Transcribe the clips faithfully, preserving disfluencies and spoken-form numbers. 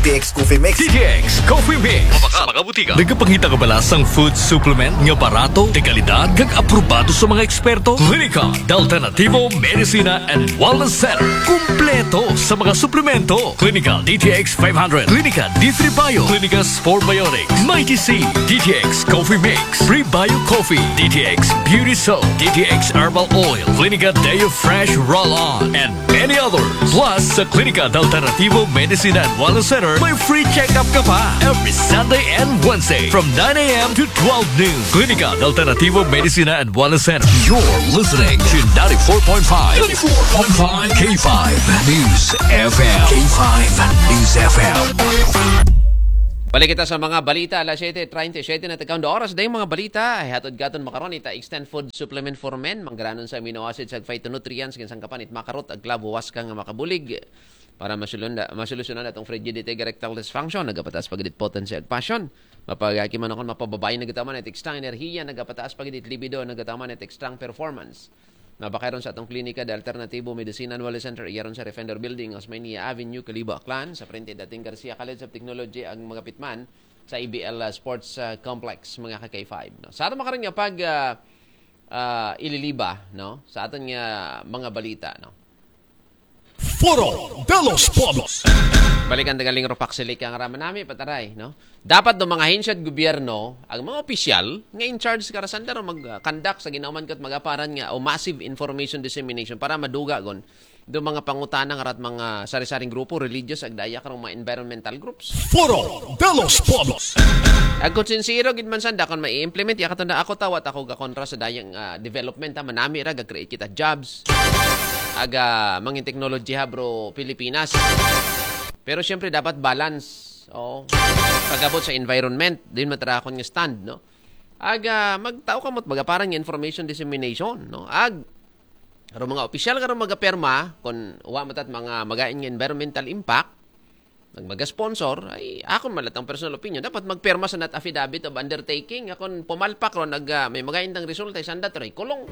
T X Coffee Mix. D T X Coffee Mix. Mabakal sa mga butika. Nagapangita ka ba sang food supplement nga barato, de kalidad, kag aprobado sa mga eksperto? Klinika de Alternativo Medicina and Wellness Center. Kumpleto sa mga suplemento. Klinika D T X five hundred, Klinika D three Bio, Klinika Sport Biotics, Mighty C, D T X Coffee Mix, Prebio Coffee, D T X Beauty Soap, D T X Herbal Oil, Klinika Deo Fresh Roll-On, and many others. Plus, sa Klinika de Alternativo Medicina and Wellness Center, may free check-up ka pa every Sunday and Wednesday from nine a.m. to twelve noon. Klinika de Alternativo Medicina and Wellness Center. You're listening to ninety-four point five, ninety-four point five K five News F M. K five News F M. Balik kita sa mga balita, alas siyete treinta y siete na tagkaon oras. Dayong mga balita, ay hatod katon makaron ita Extend Food Supplement for Men, manggranon sa amino acids, ag phytonutrients, kin sangkapan it makarot, ag klabo, waska nga makabulig para masulunda, masolusyonan atong frigidity, erectile dysfunction, nagapataas pagidit potency ag passion. Mapagaki man akon mapababay, nagataman it extra enerhiya, nagapataas pagidit libido, nagataman it extra performance. Mabakay ron sa atong klinika de Alternativo Medicine and Wellness Center, iya ron sa Refender Building, Osmeña Avenue, Kalibo, Aklan, sa frente dating Garcia College of Technology, ang mga pitman sa A B L, uh, Sports, uh, Complex, mga ka K five, no? Sa aton makaron nga pag, uh, uh, ililiba, no? Sa aton nga mga balita, no? Foro de los Pueblos. Balikan taga Lingro Paksilik ang rama nami, pataray, no? Dapat do mga ahensya at gobyerno, ang mga opisyal nga in charge kara sanda ro mag-conduct sa ginahuman kat magaparan nga o massive information dissemination para maduga gon do mga pangutana nga rat mga sari-saring grupo, religious, ag daya karong mga environmental groups. Foro de los Pueblos. Ag kung sincero gid man sanda kon mai-implement ya katanda ako tawat ako ga kontra sa dayang, ah, development, ha, manami ra ga create kita jobs. Aga mangin technology ha bro Pilipinas. Pero syempre dapat balance. Oh. Pagabot sa environment, din matrakon nga stand, no? Aga magtao ka mo't magaparan nga information dissemination, no? Ag karo mga opisyal karo magaperma kon wa matat mga magain nga environmental impact, nagmaga-sponsor, ay akon malatang personal opinion, dapat magperma sa not affidavit of undertaking. Akon pumalpak ron nag, ah, may magain tang resulta, isanda tray kulong.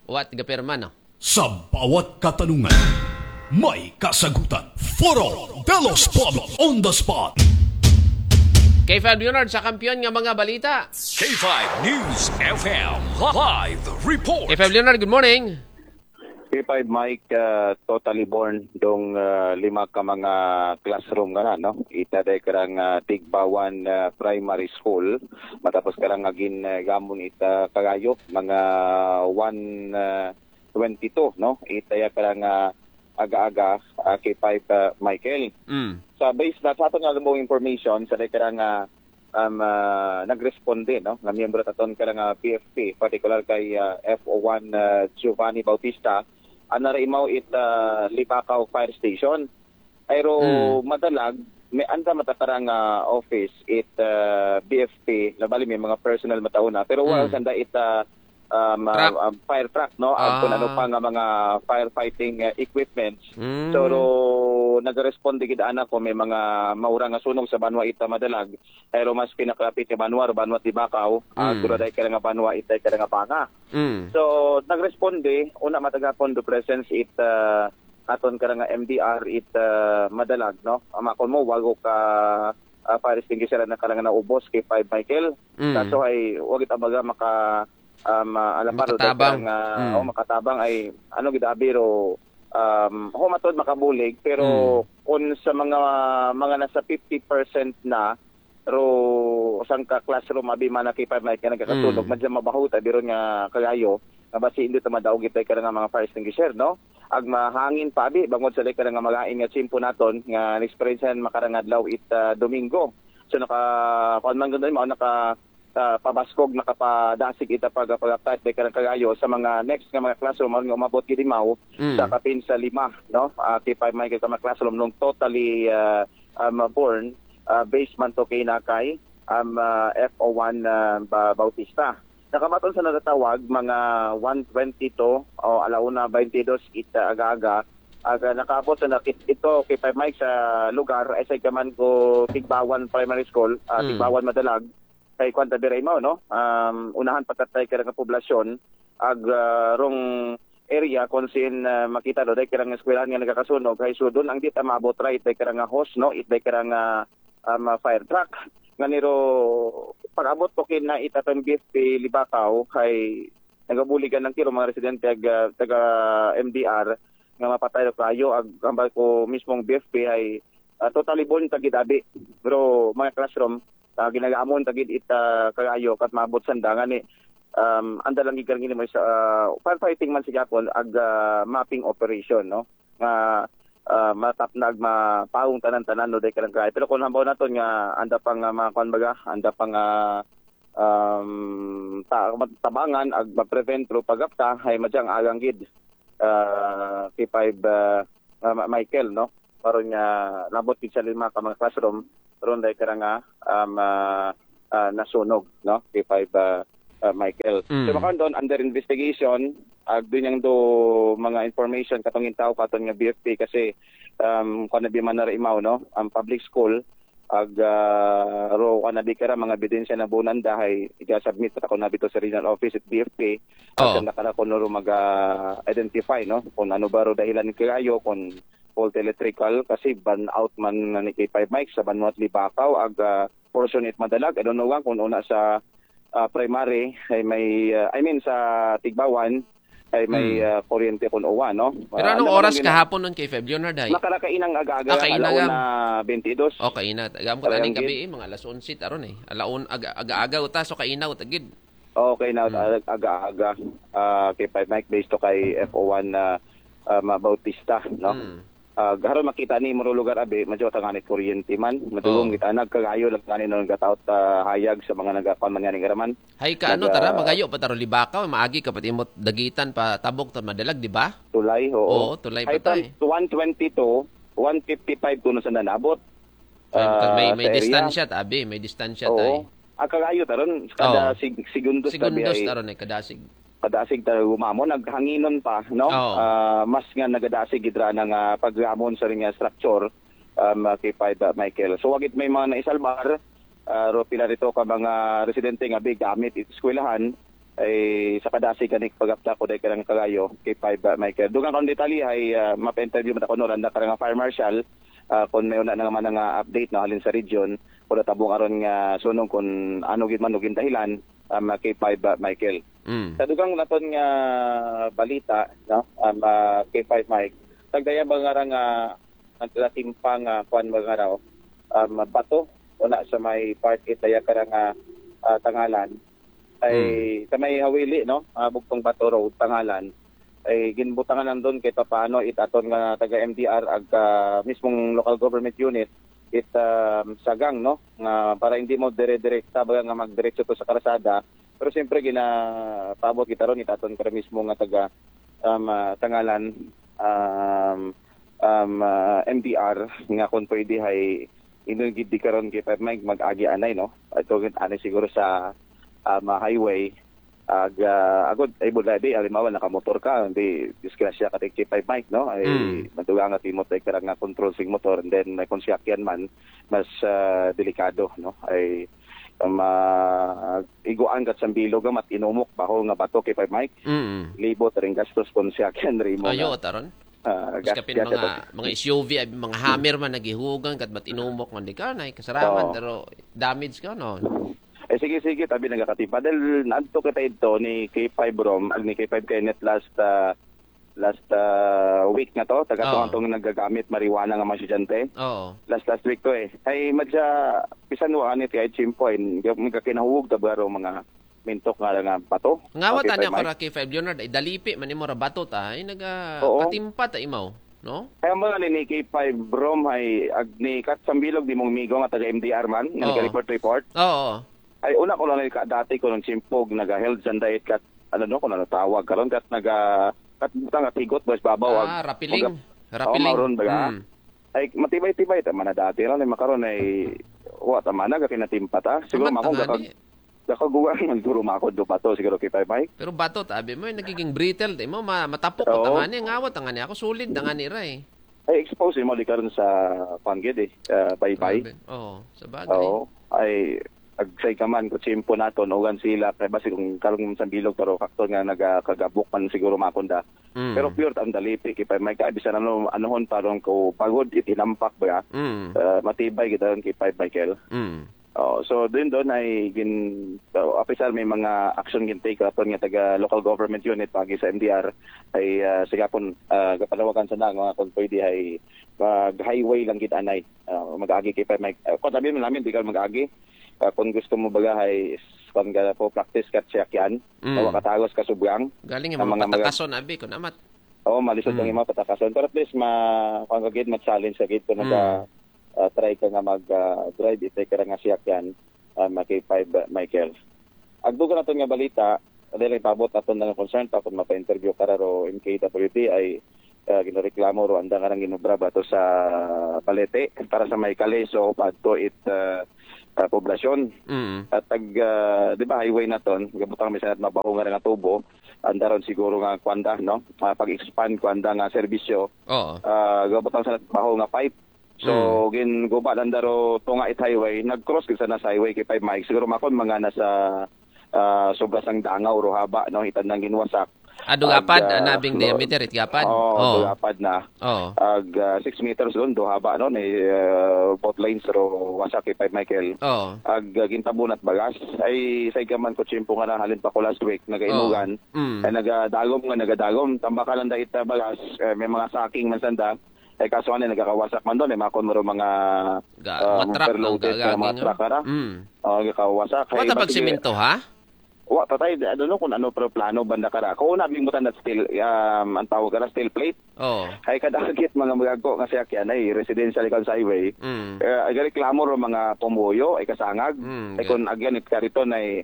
What gaperma, no? Sa bawat katanungan, may kasagutan. Foro de los Pueblos on the spot. K five Leonard sa kampiyon nga mga balita. K five News F M live report. K five Leonard, good morning. K five Mike, uh, totally born dong uh, lima ka mga classroom nga na, no? Ita day karang uh, Tigbawan uh, Primary School. Matapos karang agin uh, gamon ita kagayo, mga one uh, twenty-two, no? Ita ya karang uh, aga-aga uh, K five uh, Michael. Mm. Sa base na sa aton nga lumong information, sa day karang uh, um, uh, nagresponde, no, nga miyembro taton ka nga P F P, particular kay uh, F O one uh, Giovanni Bautista, anara imaw it uh, Libacao Fire Station. Ayro Mm. madalag, may anda matakarang uh, office it uh, B F P, na bali may mga personnel matauna, pero wala Mm. sanda it uh, um, uh, Truck. um, fire truck, no? Ag kung Ah. ano pa nga mga firefighting uh, equipments. Mm. So, ro, nagresponde gid ana ko may mga maura nga sunog sa banwa ita madalag. Pero mas pinakalapit nga banwa, ro banwa Libacao, ah, Mm. gura day ka nga banwa, itay ka nga banga. Mm. So, nagresponde, una matagapon do presence it uh, aton ka nga M D R it uh, madalag, no? Amakon mo, wago ka uh, fire extinguisher na ka nga naubos kay five Michael. Mm. Kaso ay, wag it abaga maka um, uh, alaparo Makatabang. Nga, Mm. oh, makatabang ay, ano gid abi ro, um, ho matod makabulig, pero Mm. kung sa mga mga nasa fifty percent na ro sangka classroom abi man na kay five Mike nga nagkakasunog, Mm. madya mabaho ta biron nga kagayo nga basi hindi ta madaog itay ka nga mga fire extinguisher, no? Ag mahangin pa abi bangod sa day ka nga magain nga tsimpo naton nga na-experience makarang adlaw it uh, Domingo. So naka kuan man gud mao naka uh, pabaskog nakapadasig ita pag pagaptay day ka kagayo sa mga next nga mga classroom nga umabot gid imaw Mm. sa kapin sa lima, no? Uh, kay five Mike ka mga classroom nung totally uh, um, born uh, based man to kay nakay um, uh, F O one uh, ba, Bautista. Nakamaton sa natatawag mga one twenty-two o alauna twenty-two it uh, aga-aga. Aga nakaabot sa nakit ito kay five Mike sa lugar ay sa kaman ko Tigbawan Primary School, uh, Mm. Tigbawan Madalag. Kay kwan tabi Raymo, no? Um, unahan pagkatay ka nga poblasyon ag uh, rong area kung sin, ah, makita do, dahil karang eskwelahan nga nagakasunog, hay sudon ang di ta maabot ra, it dahil karang, ah, hose, no? It dahil karang, ah, um, ah, fire truck. Nga niro, pag-abot ko kin na itaton B F P Libakaw, hay nagabuligan ng tiro mga residente ag, ah, taga M D R, nga mapatay do kayo, ag hambal ko mismong B F P hay, ah, totally born tagid abi. Pero mga classroom, ah, ginagamon tagid ita kagayo kat maabot sanda nga ni, um, anda lang gigarang ini mo sa, ah, firefighting man sigapon ag, ah, mapping operation, no? Nga, ah, matap na ag mapaong tanan-tanan, no, dahil karang kayo. Pero kung hambaw naton nga anda pang, ah, mga kwan baga, anda pang, ah, um, ta-, tabangan ag ma-prevent through pagapta, hay madyang agang gid, ah, K five, ah, ah, Ma-, Michael, no? Maron nga nabot gid sa lima ka mga classroom, ron dahil karang, ah, um, ah, ah, nasunog, no? K five, ah, ah, Michael. Mm. So, makaon doon, under investigation, ag doon yang do mga information katong intaw katon nga B F P kasi, um, kung nabi man na imaw, no? Ang public school, ag, ah, ro ka na di kara mga ebidensya na bunan dahay, iga-submit pa ako na bito sa regional office at B F P, Oh. Ag na kara kuno ro mag-identify, no? Kung ano ba ro dahilan ni kayo, kung fault electrical, kasi ban out man na ni K five Mike sa Banwat Libakaw, ag, ah, portion it madalag, I don't know lang kung una sa, ah, primary, ay may, ah, I mean sa Tigbawan, ay may, Hmm. ah, kuryente kung uwa, no? Pero Ah, anong ano oras man gina- kahapon nun kay Feb Leonard, ay? Makarakainang aga-aga, Ah, kainaga. Alauna twenty-two. O, kaina. Agam ko Talagang taning gabi, gid. Eh, mga alas onse taron, eh. Alaon, aga, aga-aga uta, so kainaw, tagid. Okay na, Hmm. ah, aga-aga. Ah, kay Five Mike based to kay F O one na, ah, Ma-, Bautista, no? Hmm. Ah, haron makita ni mo lugar abi, medyo tanganit kuryente man. Madulong Oh. kita, nagkagayo lang ngani nung gataot, ah, hayag sa mga nagakuan man ngani nga raman. Hay ka, ano, Naga- tara, magayo pa taro Libakaw, maagi ka pati mo dagitan pa tabok ta madalag, di ba? Tulay, oo. Oo, tulay Hay pa tayo. From one twenty-two, one fifty-five kuno sa nanabot. Ay, Ah, may, may sa area. Distansya, tabi, may distansya Oo. tayo. Ang kagayo taron, kada Oh. sig-, segundos tabi Segundos ay taron ay kadasig. Kadasig tayo gumamon, naghanginon pa, no? Oo. Ah, mas nga nagadasig gidra ng, ah, paggamon sa ring, ah, structure, um, ah, K five, ah, Michael. So, wagit may mga naisalbar, ah, ro pila rito ka mga residente nga bi gamit it eskwelahan, ay sa kadasig kanik pagapta ko dahil karang kagayo, K five, ah, Michael. Dugang kang detalye ay, ah, mapa-interview man ako no, randa karang fire marshal, ah, kung may una na naman nga update na halin sa region, kung natabong aron nga sunong kung ano gid man, ugin dahilan, um, ah, K five, ah, Michael. Mm. Sa dugang naton nga balita, no, um, ah, K five Mike, tagdaya ba nga ra nga naglatimpa nga kuan ba nga raw, um, bato, una sa may part it daya kara nga, ah, Tangalan, ay Hmm. sa may Hawili, no, ah, Bugtong Bato Road, Tangalan, ay ginbutangan nandun kay papaano it aton nga taga M D R ag, ah, mismong local government unit, it, um, sagang, no, nga para hindi mo dire-direkta baga nga magdiretso to sa karsada, pero siyempre ginapaabot kita ron it aton para mismo nga taga, um, ah, Tangalan, um, um, ah, M D R nga kung pwede hay inugid di karon kay Five Mike mag-agi anay, no? Ito gid anay siguro sa, um, ah, highway. Ag, ah, agod, ay, bulay, di, alimawa, nakamotor ka, hindi, disgrasya ka, K five Mike, no? Ay, Mm. maduga nga timot, ay, karang nga control sing motor, and then, may kung siyakyan man, mas, ah, delikado, no? Ay, ma-, iguan ka sa bilog, mat inumok, baho nga bato, K five Mike. Mm. Libot, ring gastos, kung siyakyan, rimo Ayo, nga. Taron. Ah, Mas gas kapin ka mga, sa mga S U V, ay, mga Hummer man, nagihugan, kat mat inumok, man, di ka, na, kasaraman, Oo. Pero damage ka, no? Eh, sige, sige, tabi nagakatipa. Dahil naadto kita ito ni K five Rom, ag ni K five Kenneth last, ah, last, ah, week na to. Taga Oo. tong, tong nagagamit marijuana nga mga estudyante. Oo. Last, last week to eh. Ay, madya, pisan wa anit kay Chimpo, eh. May kakinahuwag ta ba ro mga mintok nga nga bato. Nga wa Okay, tani Five ako Mike. Ra K five Leonard, ay dalipi, man imo ra bato ta, ay naga Oo. Patimpa ta imaw, no? Kaya mo ni K five Rom, ay, ag ni Kat Sambilog, di mong migo nga taga M D R man, nga Oo. Nag-report-report. Oo. Ay, una ko lang ka, dati ko nung simpog, naga-held sa diet kat, ano, no, kung ano tawag karon kat naga, kat butang at higot, boys, babaw, Ah, ag, rapiling. Mag-, Rapiling. Oo, mauron ba ka? Mm. Ay, matibay-tibay, tama na dati, no, ni makaron ay, wa, tama na, gakinatimpa ta. Siguro, Tama, makong tama gakag-, ni. Gakaguwa, man, siguro, mako, do pa to, siguro, kita, Mike. Pero bato, tabi mo, eh, nagiging brittle, di mo, ma-, matapok, Oo. Tangani, ngawat, tangani, ako, solid, tangani, ra, eh. Ay, expose mo, di karon sa, panggid, eh, ah, baybay. Grabe. Oo, sa bagay. Oo. Ay, Agsay ka man, kung tiyempo naton, ugan sila, kay basi kung karong sa bilog, pero faktor nga nagakagabok man siguro makunda. Mm. Pero pure ang dalipi, kay pa may kaibisan ano, anuhon pa ron ko pagod, itinampak ba? Mm. Uh, matibay kita ron kay Five Michael. Mm. Oh, so din doon ay gin so, apisar may mga action gintake aton nga taga local government unit pagi sa M D R ay uh, sigapon uh, gapanawagan sa na nga kung pwede ay mag highway lang gid anay. Uh, mag-agi kay pa may uh, kung sabi mo namin di ka mag-agi uh, kung gusto mo baga ay kung ga po practice ka siyakyan Mm. na wakatagos ka subyang Galing Ang yung mga mga patakason, abi, kung amat. Oo, malisod Mm. lang yung mga patakason. Pero at least, ma, kung kagid, ma-challenge sa gid kung Mm. naka, ah, try ka nga mag-drive, itay ka nga siyakyan, uh, makipay ba, Michael. Agdugan natin nga balita, dahil ipabot natin ng concern pa kung mapa-interview ka ro M K W D ay uh, ginareklamo ro anda nga nang ginubra ba to sa Balete para sa may kaleso pa to it uh, uh, poblasyon. Mm. At tag, uh, di ba, highway na ton, gabutang may sanat mabaho nga nga tubo, anda ron siguro nga kwanda, no? Uh, pag-expand kwanda nga serbisyo, Oo. uh, gabutang sanat baho nga pipe. So, gin guba lang daro tunga it highway, nag-cross gid sana sa highway kay five miles. Siguro makon mga nasa uh, sobra sang dangaw o haba, no? Itan nang ginwasak. Ah, dugapad, Ag, ah, ana bing no. diameter it gapad. Oo, Oo. dugapad na. Oo. Ag uh, six meters doon, do haba, no? Ni uh, both lanes ro wasak kay five Michael. Oo. Ag uh, gintabunat bagas. Ay, sa ikaman ko tiyempo nga nahalin pa ko last week, nagainugan. Mm. Ay, nagadagom nga, nagadagom. Tambaka lang dahil uh, bagas, eh, may mga saking man sanda. Ay, kaso nga, nagkakawasak man doon. Ay, makon mo ro mga Ga, ah, mga truck, overloaded ang nga mga gagawin, truck, ara. Mm. Oh, nagkakawasak. Wala Ay, ta pag matige- simento, ha? Wa, patay, I don't know kung ano pero plano banda kara. Kung nabing butan na steel, um, ang tawag kara, steel plate. Oo. Ay, kadagit mga magago nga siya kaya na eh, residential ikaw sa highway. Mm. Eh, ay, reklamo ro mga pumuyo, ay kasangag. Mm, Ay, kung again, it kariton ay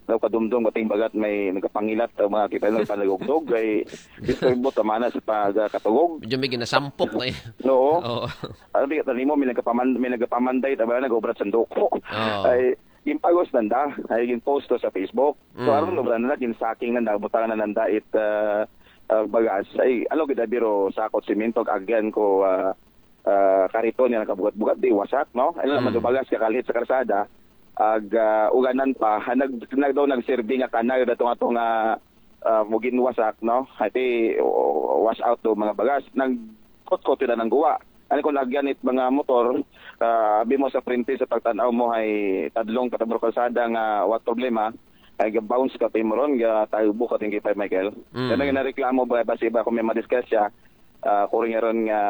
daw kadumdum kating bagat may nagkapangilat ang mga kita ng panagugdog ay gusto yung buta mana sa pagkatugog. Medyo may ginasampok na eh. No. Oo. Ano di ka mo may nagkapaman may nagkapamanday tama na nag-obrat sa duko. Oo. Ay yung pagos nanda, ay yung post to sa Facebook. So Mm. aron obra na kin saking nanda butang na nanda it uh, uh, bagas. Ay ano gid biro sakot simento again ko uh, uh, karito niya nakabugat-bugat di wasak, no? Ano naman Mm. do bagas kakalit sa karsada. Ag uh, uganan pa ha, nag nag daw nagserbi nga kanal dato nga to nga uh, mugin wasak, no? Hati uh, wash out do mga bagas. Nagkot-kot na nang guwa. Ano kung lagyan it mga motor, uh, abi mo sa printe sa pagtanaw mo ay tadlong katabro kalsada nga what problema ay ga-bounce ka timuron ga tayo bukat yung kay Michael. Mm. Kaya nga nareklamo ba basi ba kung may madiscuss siya uh, kung nga ron nga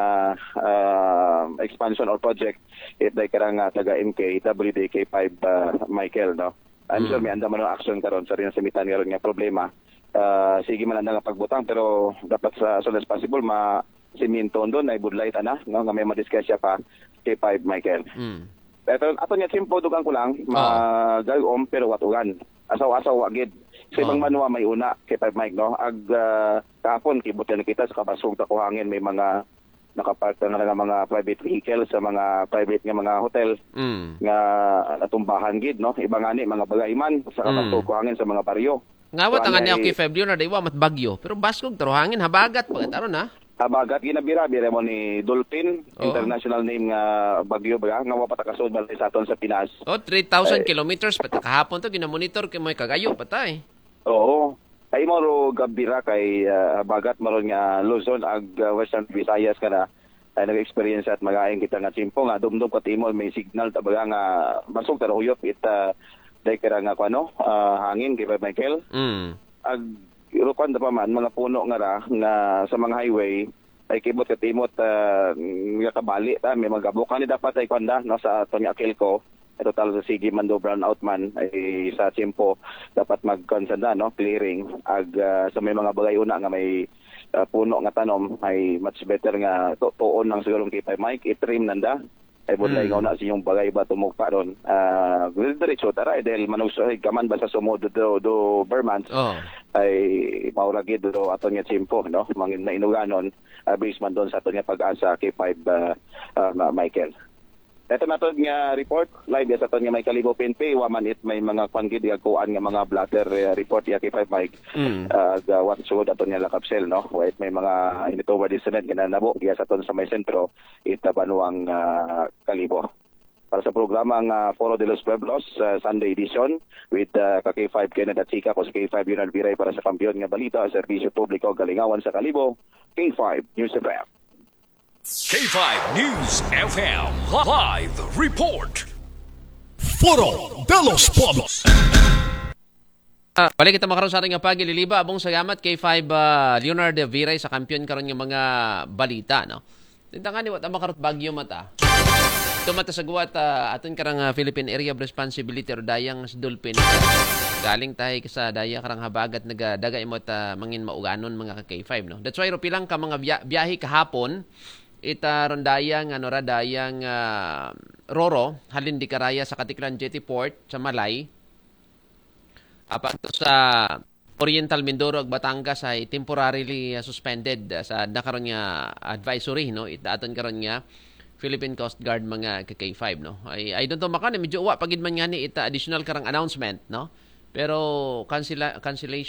uh, expansion or project it day karang uh, taga M K W D K five uh, Michael, no? I'm sure Mm. may anda man ang action karon sa rin sa mitan nga ron nga problema. Uh, sige man anda nga pagbutang pero dapat sa as soon as possible ma siminto doon ay budlay tana, no, nga may madiscuss siya pa kay five Michael. Mm. Pero ato niya simple dugang ko lang, magal-om pero watugan. Asaw-asaw wa gid. Sa ibang Oh. banwa may una kay five Mike, no? Ag uh, kahapon kibot na kita sa kabasog ta kuhangin may mga nakapark na nga mga private vehicle sa mga private nga mga hotel Mm. nga natumbahan gid, no? Iba nga ni mga bagay man sa Mm. kabasog kuhangin sa mga baryo. Ngawat So, ang ano ani ay- okay February na diwa mat bagyo. Pero baskog taruhangin habagat pagkataron ha. Habagat ginabira-bira mo ni Dolphin, Oo. international name nga bagyo ba nga wa pa ta kasulod sa aton sa Pinas. Oh, three thousand Ay. Kilometers pati kahapon to ginamonitor kay may kagayo patay. Oo. Ay mo ro gabira kay ah, habagat maron nga Luzon ag ah, Western Visayas ka na ay nag-experience at magaing kita nga tiyempo nga dumdum ka timol may signal ta baga nga basog ta huyop it ah, day kira nga kuno ah, hangin kay Michael. Mm. Ag irukan da pa man mga puno nga ra nga sa mga highway ay kibot ka timot uh, nga kabali ta may magabukan ni dapat ay kwanda, no, sa aton nga akil ko. Ay total sa sige man do brown out man ay sa tiyempo dapat magkansanda, no, clearing ag ah, sa may mga bagay una nga may ah, puno nga tanom ay much better nga tu- tuon lang siguro kay Mike i-trim nanda ay budlay Mm. nga una sa inyong bagay ba tumugpa ron. Ah, diretso tara eh, dahil manugso ay kaman ba sa sumod do, do Vermont Oh. ay mauragid do aton nga tiyempo, no, mangin na inuganon ah, based man doon sa aton nga pag-asa kay five ah, ah, Ma- Michael. Ito na to nga report live sa aton nga may kalibo P N P wa man it may mga kwan gid nga kuan nga mga blotter ah, report ya kay five Mike. Mm. Ah, ga what sugod aton nga lakapsel, no, wa it may mga initowa di sunod nga nanabo ya sa aton sa may sentro ita banwang ah, kalibo. para sa programang ah, Foro de los Pueblos, ah, Sunday edition with ah, ka K five Kenneth Atsika, ko si K five Leonard Viray para sa Kampiyon nga Balita, Serbisyo Publiko, Kalingawan sa Kalibo, K five News F M. K five News F M live report. Foro de los Pueblos. Ah, balik kita makaroon sa ating pagililiba. Abong salamat kay five ah, Leonard Viray sa Kampiyon karon nga mga balita, no? Tintangan ni wata makarot bagyo mata. Ito mata sa guwat ah, aton karang ah, Philippine Area of Responsibility or dayang si Dolphin. Galing tayo sa daya karang habagat nagadaga imot ah, mangin mauganon mga ka K five, no? That's why ro pilang ka mga biya- biyahe kahapon ita ron dayang ano ra dayang ah, Roro halin di karaya sa Katiklan Jetty Port sa Malay. Apan to sa Oriental Mindoro ug Batangas ay temporarily uh, suspended uh, sa nakaron nga advisory, no? Itaton karon nga Philippine Coast Guard mga ka K five, no? I, I don't know, makani medyo wa pagid man ngani ita additional karang announcement, no? Pero cancela- cancellation